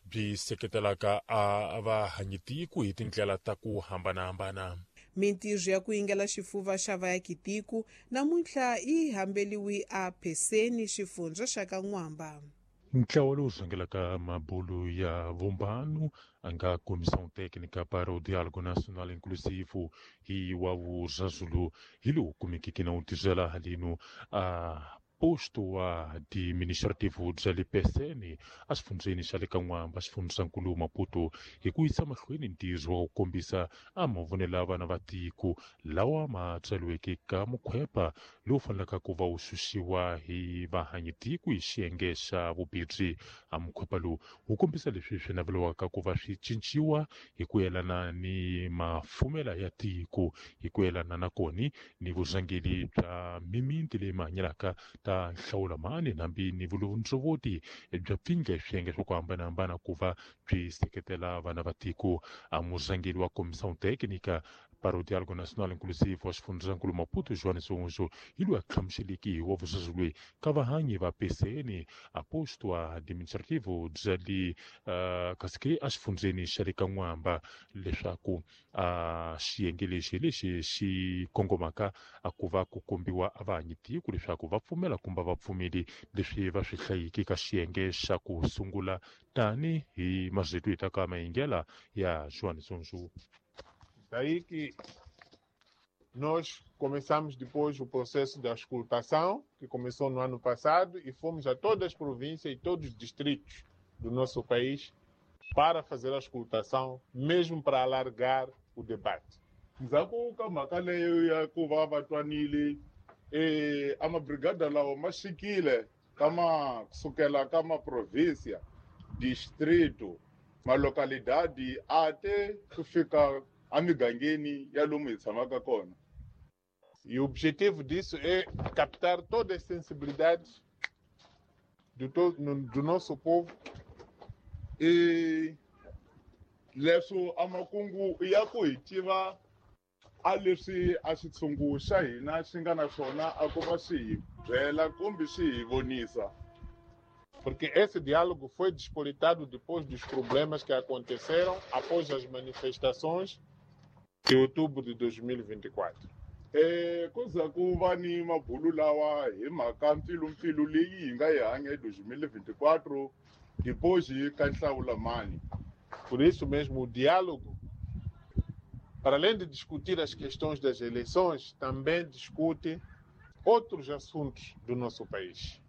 Byi seketelaka a vahanyitiko hi tindlela ta ku hambanahambana. Mintirho ya ku yingela xifuva xa vayakitiko namuntlha yi hambeliwi a Pheseni, xifundza xa ka N'wamba. Ntlawa lowu rhangelaka mabulu ya vumbano a nga Comissão Técnica para o Diálogo Nacional Inclusivo hi wa vuzazulu hi lowu kumekeke na wu tirhela haleno a posto wa administrativo bya le Pessene exifundzheni xa le ka N'wamba, xifundzankulu Maputo, hi ku yisa mahlweni ntirho wa ku kombisa a mavonelo ya vana va tiko lawa ma tsariweke ka mukhwepa lowu fanelaka ku va wu xuxiwa hi vahanyitiko hi xiyenge xa vubirhi. A mukhwepa lowu wu kombisa leswi swi naveliwaka ku va swi cinciwa hi ku yelana ni mafumela ya tiko, hi ku yelana na koni ni vurhangeri bya mimiti leyi mahanyelaka ta nhlawula mani hambi ni vulondzovoti bya pfindla hi swiyenge swa ku hambanahambana ku va byi seketela vana va tiko. A murhangeri wa Comissão Técnica para o Diálogo Nacional Inclusivo wa xifundzankulu Maputo, João Zonzo, hi loyi a hlamuseleke hi wa vuzazi loyi ka vahanyi va PCN a posto administrativo bya le kasi ke exifundzheni xa le ka N'wamba leswaku a xiyenge lexi lexi xi kongomaka a ku va ku kombiwa a vahanyi tiko leswaku va pfumela kumbe va pfumeli leswi va swi hlayiki ka xiyenge xa ku sungula tani hi mazito hi ta ka mayingela ya João Zonzo. Daí que nós começamos depois o processo da auscultação, que começou no ano passado, e fomos a todas as províncias e todos os distritos do nosso país para fazer a auscultação, mesmo para alargar o debate. Ndzhaku ka mhaka leyo ya ku va va twanile a mabrigada lawa ma xikile ka ma kusukela ka maprovinsia, distrito, malocalidade ate ku fika emigangeni ya lomu hi tshamaka kona. E o objetivo disso é captar todas as sensibilidades do nosso povo. E leswo a makungu ya ku hi tiva a leswi a xitshungu xa hina xi nga na swona a ku va xi hi byela kumbe xi hi vonisa. Porque esse diálogo foi despoletado depois dos problemas que aconteceram após as manifestações de outubro de 2024. Ku za ku va ni mabulu lawa hi mhaka mpfilumpfilu leyi hi nga yi hanya hi 2024 depois ka nhlawulamani. Por isso mesmo, o diálogo, para além de discutir as questões das eleições, também discute outros assuntos do nosso país.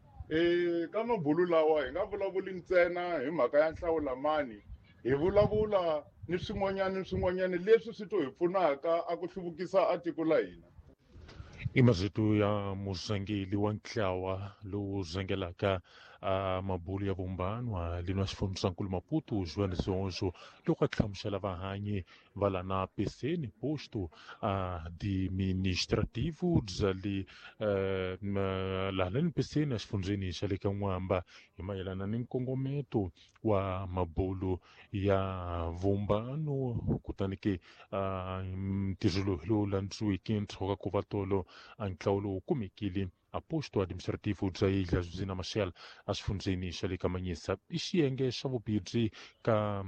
Ka mabulu lawa hi nga vulavuli ntsena hi mhaka ya nhlawulamani, hi vulavula ni swin'wanyana ni swin'wanyana leswi swi to hi pfunaka a ku hluvukisa a tiko la hina. I mazito ya murhangeri wa ntlawa lowu rhangelaka a mabulu ya vumbano lino a xifundzankulu Maputo, João Zonzo, loko a hlamusela vahanyi va lana Pessene posto administrativo bya le laha Pessene exifundzheni xa le ka N'wamba hi mayelana ni nkongometo wa mabulu ya vumbano. Kutani ke ntirho lowu hi lowu landziweke ndzhaku ka ku va tolo a ntlawa lowu kumekile a posto administrativo bya Ilha Josina Machel exifundzheni xa le ka Manhisa i xiyenge xa vubirhi ka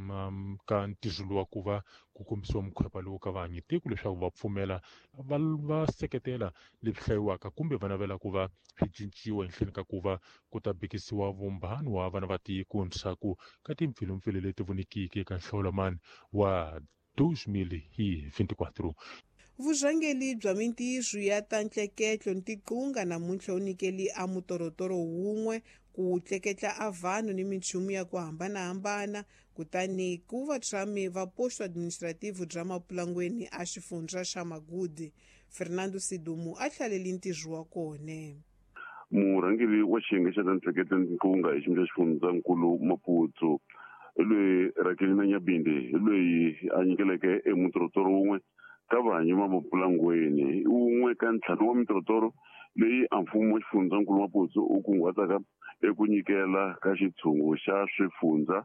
ka ntirho wa ku va ku kombisiwa mukhwepa lowu ka vahanyi tiko leswaku va pfumela va seketela leswi hlayiwaka kumbe va navela ku va swi cinciwa ehenhleni ka ku va ku ta bikisiwa vumbano wa vana va tiko ndzhaku ka timpfilumpfilu leti vonikiki eka nhlawulamani wa 2024. Vurhangeri bya mintirho ya ta ntleketlo ni tiqunga namuntlha wu nyikeli a mutorotoro wun'we ku tleketla a vanhu ni minchumu ya ku hambanahambana kutani ku va tshami va posto administrativo bya Mapulangweni a xifundza xa Magudi. Fernando Sidumu a hlaleli ntirho wa kona. Murhangeri wa xiyenge xa ta ntleketlo ni tiqunga hi xiyimo xa xifundzankulu Maputo hi loyi Rakelina Nyabinde, hi loyi a nyikeleke emutorotoro wun'we ka vahanyi va Mapulangweni, wun'we ka ntlhanu wa mitorotoro leyi a mfumo wa xifundzankulu Maputo wu kunguhataka eku nyikela ka xitshungu xa swifundza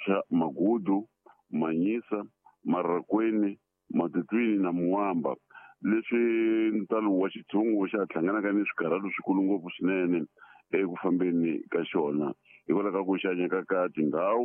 xa Magudu, Manhisa, Marracuene, Matutuine na Moamba, leswi ntalo wa xitshungu xa hlanganaka ni swikarhalo swikulu ngopfu swinene eku fambeni ka xona hikwalaho ka ku xanyeka ka tindhawu.